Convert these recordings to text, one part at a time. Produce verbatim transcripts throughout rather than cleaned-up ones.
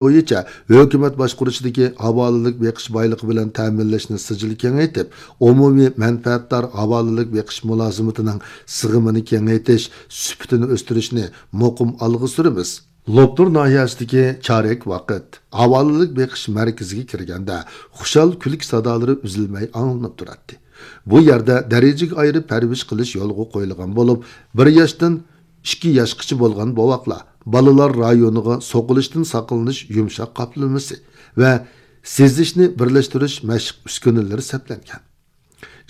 بويىچە ھۆكۈمەت باشقۇرۇشىدىكى ھاۋالىلىك بېقىش بايلىقى بىلەن تەمىنلەشنى سىجىل كېڭەيتىپ، ئومۇمىي مەنپەئەتدار ھاۋالىلىك بېقىش مۇلازىمىتىنىڭ سىغىمىنى كېڭەيتىش، سۈپىتىنى ئۆستۈرۈشنى مۇقىم ئالغا سۈرىمىز. لوپنۇر ناھىيەسىدىكى چارەك ۋاقىت ھاۋالىلىك بېقىش مەركىزىگە كىرگەندە، خۇشال كۈلكە سادالىرى ئۈزۈلمەي ئاڭلىنىپ تۇراتتى. بۇ يەردە دەرىجىگە ئايرىپ پەرۋىش قىلىش يولغا قويۇلغان بولۇپ، بىر ياشتىن ئىككى ياشقىچە بولغان بوۋاقلار بالىلار رايونىغا سوقۇلۇشتىن ساقلىنىش يۇمشاق قاپلىمىسى ۋە سېزىشنى بىرلەشتۈرۈش مەشىق ئۈسكۈنىلىرى سەپلەنگەن.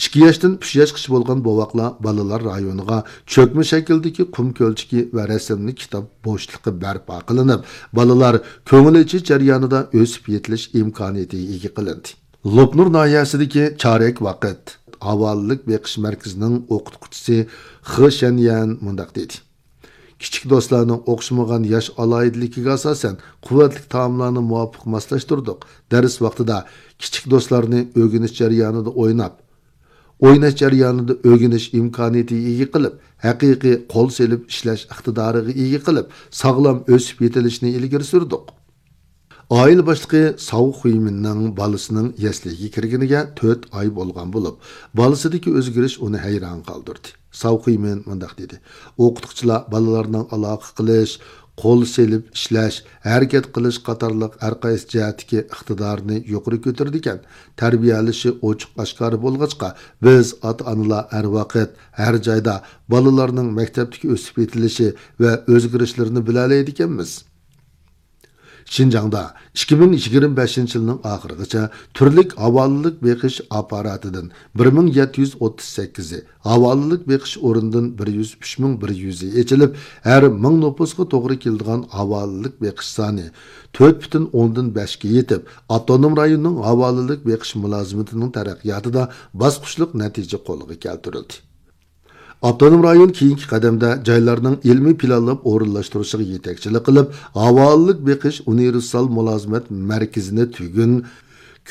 ئىككى ياشتىن ئۈچ ياشقىچە بولغان بوۋاقلار بالىلار رايونىغا چۆكمە شەكىلدىكى قۇم كۆلچىكى ۋە رەسىملىك كىتاب بوشلۇقى بەرپا قىلىنىپ، بالىلار كۆڭۈل ئېچىش جەريانىدا ئۆسۈپ يېتىلىش ئىمكانىيىتىگە ئىگە قىلىندى. لوپنۇر ناھىيەسىدىكى چارەك ۋاقىت ھاۋالىلىك بېقىش مەركىزىنىڭ ئوقۇتقۇچىسى خې شەنيەن مۇنداق دېدى: كىچىك دوستلارنىڭ ئوخشىمىغان ياش ئالاھىدىلىكىگە ئاساسەن، قۇۋۋەتلىك تائاملارنى مۇۋاپىق ماسلاشتۇردۇق. دەرس ۋاقتىدا كىچىك دوستلارنى ئۆگىنىش جەريانىدا ئويناپ، ئويناش جەريانىدا ئۆگىنىش ئىمكانىيىتىگە ئىگە قىلىپ، ھەقىقىي قول سېلىپ ئىشلەش ئىقتىدارىغا ئىگە قىلىپ، ساغلام ئۆسۈپ يېتىلىشنى ئىلگىرى سۈردۇق. ئائىلە باشلىقى ساۋ خۇيمىننىڭ بالىسىنىڭ يەسلىگە كىرگىنىگە تۆت ئاي بولغان بولۇپ، بالىسىدىكى ئۆزگىرىش ئۇنى ھەيران قالدۇردى. ساۋ خۇيمىن مۇنداق دېدى: ئوقۇتقۇچىلار بالىلارنىڭ ئالاقە قىلىش، قول سېلىپ ئىشلەش، ھەرىكەت قىلىش قاتارلىق ھەرقايسى جەھەتتىكى ئىقتىدارىنى يۇقىرى كۆتۈرىدىكەن. تەربىيەلىشى ئوچۇق ئاشكارا بولغاچقا، بىز ئاتا-ئانىلار ھەر ۋاقىت، ھەر جايدا بالىلارنىڭ مەكتەپتىكى ئۆسۈپ يېتىلىشى ۋە ئۆزگىرىشلىرىنى بىلەلەيدىكەنمىز. شىنجاڭدا ئىككى مىڭ يىگىرمە بەشىنچى يىلنىڭ ئاخىرىغىچە تۈرلۈك ھاۋالىلىك بېقىش ئاپپاراتىدىن بىر مىڭ يەتتە يۈز ئوتتۇز سەككىزى، ھاۋالىلىك بېقىش ئورنىدىن بىر يۈز ئۈچ مىڭ بىر يۈزى ئېچىلىپ، ھەر مىڭ نوپۇسقا توغرا كېلىدىغان ھاۋالىلىك بېقىش سانى تۆت پۈتۈن ئوندىن بەشكە يېتىپ، ئاپتونوم رايوننىڭ ھاۋالىلىك بېقىش مۇلازىمىتىنىڭ تەرەققىياتىدا باسقۇچلۇق نەتىجە قولغا كەلتۈرۈلدى. ئاپتونوم رايون كېيىنكى قەدەمدە جايلارنىڭ ئىلمىي پىلانلاپ ئورۇنلاشتۇرۇشىغا يېتەكچىلىك قىلىپ، ھاۋالىلىك بېقىش ئۇنىۋېرسال مۇلازىمەت مەركىزىنى تۈگۈن،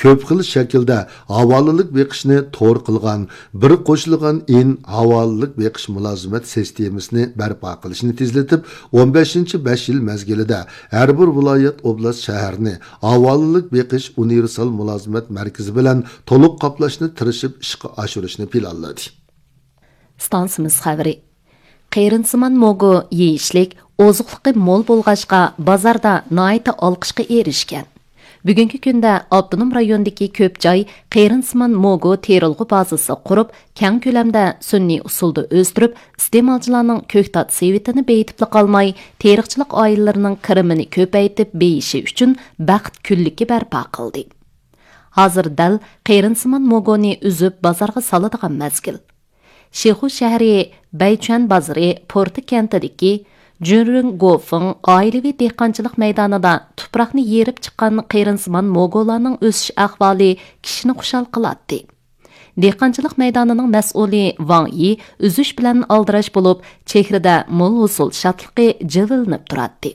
كۆپ خىل شەكىلدە ھاۋالىلىك بېقىشنى تور قىلغان بىر قوشۇلغان ئىن ھاۋالىلىك بېقىش مۇلازىمەت سىستېمىسىنى بەرپا قىلىشنى تېزلىتىپ، ئون بەشىنچى بەش يىل مەزگىلىدە ھەر بىر ۋىلايەت، ئوبلاست، شەھەرنى ھاۋالىلىك بېقىش ئۇنىۋېرسال مۇلازىمەت مەركىزى بىلەن تولۇق قاپلاشنى تىرىشىپ ئىشقا ئاشۇرۇشنى پىلانلىدى. ئىستانسىمىز خەۋىرى. قېرىنسىمان موگو يېيىشلىك، ئوزۇقلۇقى مول بولغاچقا، بازاردا ناھايىتى ئالقىشقا ئېرىشكەن. بۈگۈنكى كۈندە ئاپتونوم رايوندىكى كۆپ جاي قېرىنسىمان موگو تېرىلغۇ بازىسى قۇرۇپ، كەڭ كۆلەمدە سۈنئىي ئۇسۇلدا ئۆستۈرۈپ، ئىستېمالچىلارنىڭ كۆكتات سېۋىتىنى بېيىتىپلا قالماي، تېرىقچىلىق ئائىلىلىرىنىڭ كىرىمىنى كۆپەيتىپ بېيىشى ئۈچۈن بەخت كۈنلۈكى بەرپا قىلدى. ھازىر دەل قېرىنسىمان موگونى ئۈزۈپ بازارغا سالىدىغان مەزگىل. شىخۇ شەھىرى بەيچۈەن بازىرى پورتا كەنتىدىكى جۈنرىڭ گوفېڭ ئائىلىۋى دېھقانچىلىق مەيدانىدا تۇپراقنى يېرىپ چىققان قېرىنسىمان موگولارنىڭ ئۆسۈش ئەھۋالى كىشىنى خۇشال قىلاتتى. دېھقانچىلىق مەيدانىنىڭ مەسئۇلى ۋاڭ يى ئۈزۈش بىلەن ئالدىراش بولۇپ، چېھرىدە مول ھوسۇل شادلىقى جىلۋىلىنىپ تۇراتتى.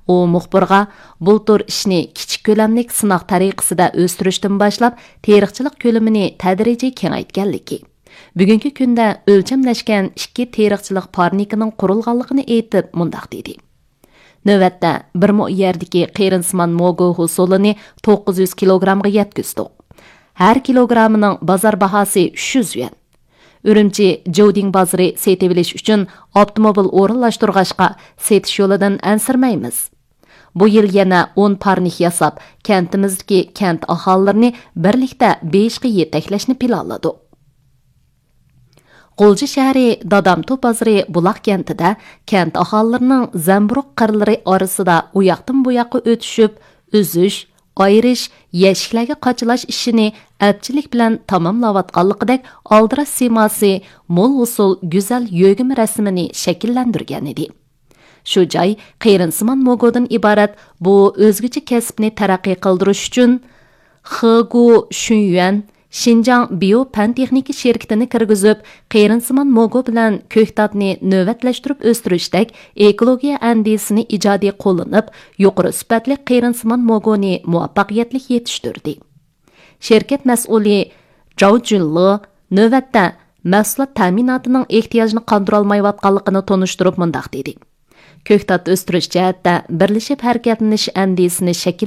ئۇ مۇخبىرغا، بۇلتۇر ئىشنى كىچىك كۆلەملىك سىناق تەرىقىسىدە ئۆستۈرۈشتىن باشلاپ، تېرىقچىلىق كۆلىمىنى تەدرىجىي كېڭەيتكەنلىكى، بۈگۈنكى كۈندە ئۆلچەملەشكەن ئىككى تېرىقچىلىق پارنىكىنىڭ قۇرۇلغانلىقىنى ئېيتىپ، مۇنداق دېدى: نۆۋەتتە بىر مو يەردىكى قېرىنسىمان موگو ھوسۇلىنى توققۇز يۈز كىلوگرامغا يەتكۈزدۇق. ھەر كىلوگرامىنىڭ بازار باھاسى ئۈچ يۈز يۈەن. ئۈرۈمچى جودىڭ بازىرى سېتىۋېلىش ئۈچۈن ئاپتوموبىل ئورۇنلاشتۇرغاچقا، سېتىش يولىدىن ئەنسىرىمەيمىز. بۇ يىل يەنە ئون پارنىك ياساپ، كەنتىمىزدىكى كەنت ئاھالىلىرىنى بىرلىكتە بېيىشقا يېتەكلەشنى پىلانلىدۇق. غۇلجا شەھىرى دادامتۇ بازىرى بۇلاق كەنتىدە كەنت ئاھالىلىرىنىڭ زەمبۇرۇغ قىرلىرى ئارىسىدا ئۇياقتىن بۇياققا ئۆتۈشۈپ، ئۈزۈش، ئايرىش، يەشىكلەرگە قاچىلاش ئىشىنى ئەپچىللىك بىلەن تاماملاۋاتقانلىقىدەك ئالدىراش سىيماسى مول ھوسۇل گۈزەل يۆگىمە رەسىمىنى شەكىللەندۈرگەنىدى. شۇ جاي قېرىنسىمان موگودىن ئىبارەت بۇ ئۆزگىچە كەسىپنى تەرەققىي قىلدۇرۇش ئۈچۈن خېگۇ شۈنيۈەن شىنجاڭ بىيو پەن تېخنىكا شىركىتىنى كىرگۈزۈپ، قېرىنسىمان موگو بىلەن كۆكتاتنى نۆۋەتلەشتۈرۈپ ئۆستۈرۈشتەك ئېكولوگىيە ئەندىزىسىنى ئىجادىي قوللىنىپ، يۇقىرى سۈپەتلىك قېرىنسىمان موگونى مۇۋەپپەقىيەتلىك يېتىشتۈردى. شىركەت مەسئۇلى جاۋ جۈنلې نۆۋەتتە مەھسۇلات تەمىناتىنىڭ ئېھتىياجىنى قاندۇرالمايۋاتقانلىقىنى تونۇشتۇرۇپ مۇنداق دېدى: كۆكتات ئۆستۈرۈش جەھەتتە بىرلىشىپ ھەرىكەتلىنىش ئەندىزىسىنى شەكىللەندۈرۈش